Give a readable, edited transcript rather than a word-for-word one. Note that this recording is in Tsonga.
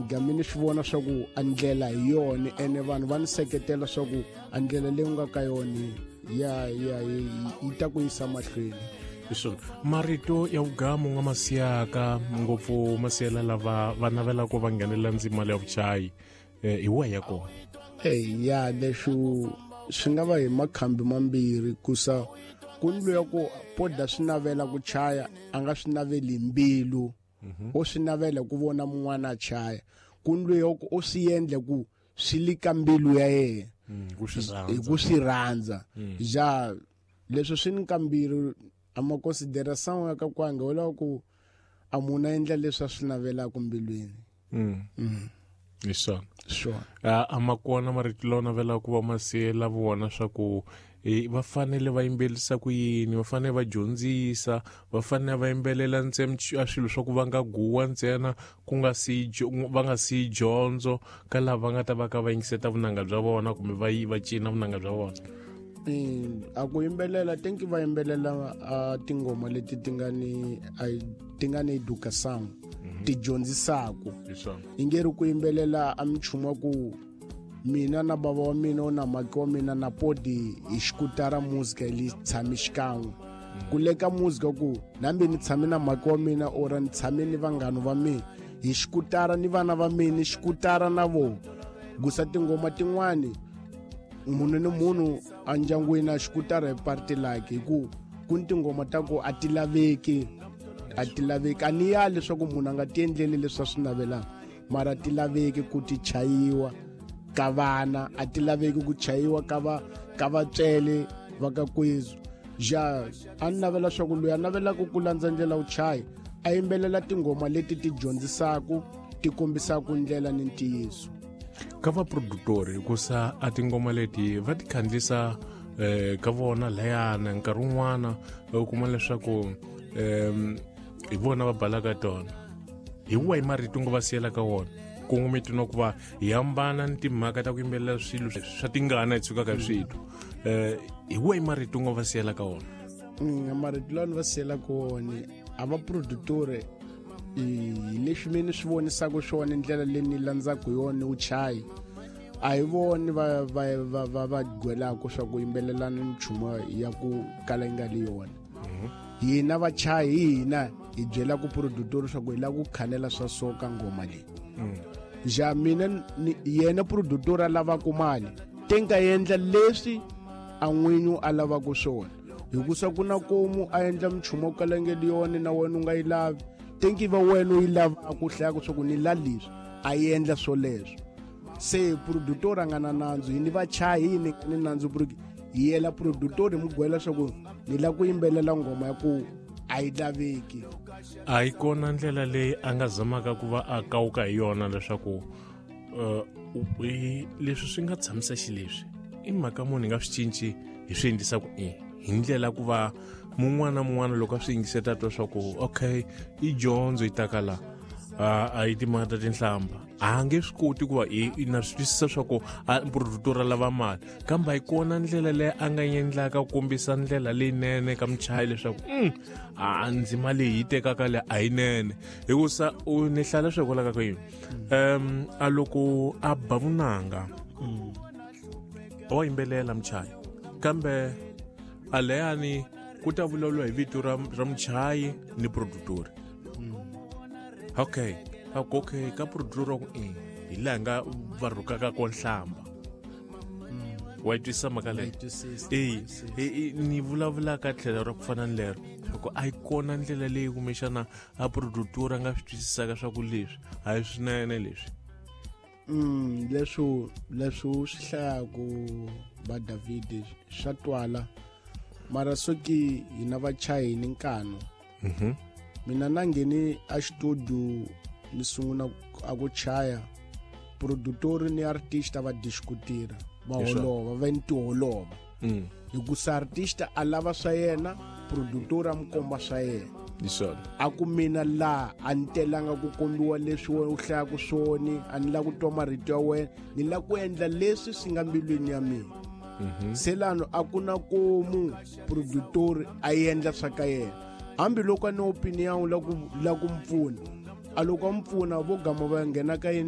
Game ni swi vona swa ku a ndlela hi yona, ene vanhu va ni seketela swa ku a ndlela leyi u nga ka yona ya ya yi ta ku yisa mahlweni. Hi swona marito ya vugamu nga ma siyaka ngopfu ma siyela lava va navelaka va nghenelela ndzima ya vuchayi, hi wahi ya kona? Eyi ya, leswi swi nga va hi makhambi mambirhi, kusa ku ni loyi ku poda swi navela ku chaya, a nga swi naveli hi mbilu, o swi navela ku vona mun'wana a chaya. Ku ni loyi ku o swi endle ku swi li ka mbilu ya yena, ku swi hi ku swi rhandza. Ja, leswi swi ni kambirhi, a ma consideration ya ka kwanga wo lava ku a munhu a endla leswi a swi navelaka mbilwini. Hi swona. Swona. A ma kona marito lawa navelaka ku va ma siyela vona swa ku va fanele va yimbelisa ku yini, va fanele va dyondzisa, va fanele va yimbelela ntsena a swilo swa ku va nga guwa ntsena, ku nga si va nga si dyondzo ka lava va nga ta va ka va yingiseta vunanga bya vona kumbe va va cina vunanga bya vona? A ku yimbelela tenki va yimbelela a tingoma leti ti nga ni ti nga ni education, ti dyondzisaku. Hi swona. I nge ri ku yimbelela a minchumu wa ku mina na bava wa mina na maki wa mina na podi hi xikutara muzika li tshami xikan'we, ku le ka muzika ku nambi ni tshame na maki wa mina ora ni tshame ni vanghana va mina hi xikutara ni vana va mina ni xikutara na vo gusa tingoma tin'wani, munhu ni munhu a ndyangwini a xikutara hi party like, hi ku ku ni tingoma ta ku a ti laveki, a ti laveki. A ni ya leswaku munhu a nga ti endleli leswi a swi navelaka, mara ti laveki ku ti chayiwa ka vana, a ti laveki ku chayiwa ka va ka vatswele va ka kwezu. Ja, a ni navela swa ku loyi a navelaka ku landza ndlela wu chaya, a yimbelela tingoma leti ti dyondzisaku, ti kombisaku ndlela ni ntiyiso. Ka vaproductori, hikusa a tingoma leti va ti khandlisa ka vona layana, nkarhi wun'wana u kuma leswaku hi vona va balaka tona, hi wahi marito nga va siyela ka wona kongometi na ku va hi hambana ni timhaka ta ku yimbelela swilo swa tingana hi tshukaka hi switwa, hi wahi marito nga va siyela ka wona? Marito lawa ni va siyelaka wona a va produtore, hi leswi mi ni swi vonisaka swona, ndlela leyi ni landzaka hi yona wu chayi, a hi voni va va va va va gwelaka swa ku yimbelelana nchumu ya ku kala yi nga li yona. Hina vachayi hi hina hi byelaka produtor swa ku hi lava ku khalela swa so ka ngoma leyi. Ja, mina yena produtor a lavaka mali, te nga endla leswi a n'winyi a lavaka swona, hikusa ku na komu a endla minchumu wa ku kalangeli yona na wena u nga yi lavi, tenki va wena u yi lavaka, u hlayaka swa ku ni la leswi, a endla swoleswo. Se produtor a nga na nandzu, hi ni vachayi hi ni ni nandzu hi yela produtor hi mu gwela swa ku ni lava ku yimbelela ngoma ya ku a yi laveki. A yi kona ndlela leyi a nga zamaka ku va a kawuka hi yona leswaku leswi swi nga tshamisa xileswi i mhaka munhu hi nga swi cinci, hi swi endlisa ku i hi ndlela ku va mun'wana na mun'wana loko a swi yingiseta twa swa ku okay, i dyondzo yi taka la, a yi timhaka ta tinhlamba, a nge swi koti ku va i na swi twisisa swa ku a produtor a lava mali, kambe a yi kona ndlela leyi a nga endlaka ku kombisa ndlela leyinene ka muchayi leswaku a ndzima leyi yi tekaka le a yinene, hikusa u ni hlaya leswi hikwalaho ka yini a loko a ba vunanga wa yimbelela muchayi, kambe a leyani ku ta vulavuriwa hi vito ra muchayi ni produtori. Okay, okay, ka produtor ku i hi laha nga va rhukaka ko nhlamba, wa yi twisisa mhaka leyi? E ni vulavula ka tlhelo ra ku fana ni lero, loko a yi kona ndlela leyi kumbexana a produtor a nga swi twisisaka swa ku leswi a hi swinene leswi. Leswi u swi hlayaku va David swa twala, mara soki hina vachayi ni nkano. Mina na ngheni a xitudio ni sungula a ku chaya, produtor ni artist va diskutira, va holova, va ni tiholova, hikusa artist a lava swa yena, produtor a mu komba swa yena. A ku mina laha a ni telanga ku kombiwa leswi wena u hlayaka swona, a ni lava ku twa marito ya wena, ni lava ku endla leswi swi nga mbilwini ya mina. Se lano a ku na komu produtor a endla swa ka yena, hambiloko a ni opinion la ku la ku mu pfuna, a loko a mu pfuna vo gama va nghena ka yini.